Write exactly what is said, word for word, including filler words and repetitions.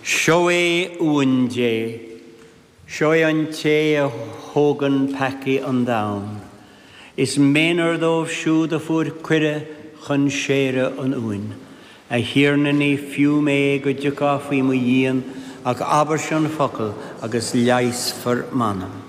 Seo é Uan Dé, seo é an té a thógann peacaí an domhain. Is méanar dóibh siúd a fuair cuireadh chun séire an Uain. A Thiarna ní fiú mé go dtiocfá faoi mo dhíon ach abairse an focal agus leigheasfar m'anam.